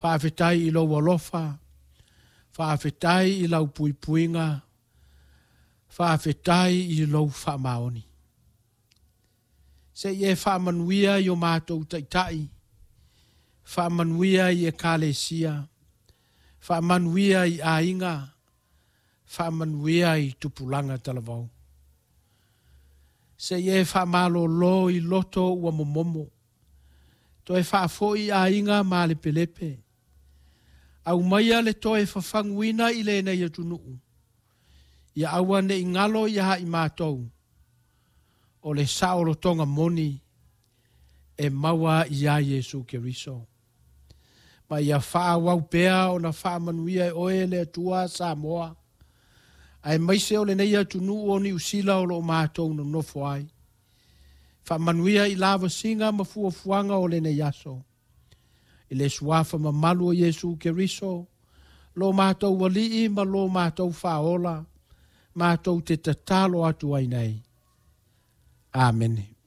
Faafetai i lou alofa, faafetai i lau puipuiga, faafetai i lou faamaoni. Se i e faamanuia i o matou taitai, faamanuia i ekalesia, faamanuia i aiga, faamanuia i tupulaga talavou. Se i e faamalolo i loto ua momomo, toe faafoi aiga malepelepe, aumaia le toe fafaguina i lenei atunuu, ia aua ne i galo ia i matou, o le saolotoga moni e maua iā Iesu Keriso. Ma ia faaauau pea ona faamanuia e oe le Atua Samoa, aemaise o lenei atunuu o Niu Sila o lo o matou nonofo ai. Faamanuia i lavasiga ma fuafuaga o lenei aso. I le suafa mamalu o Iesu Keriso, lo matou alii ma lo matou faaola, matou te tatalo atu ai nei. Amene.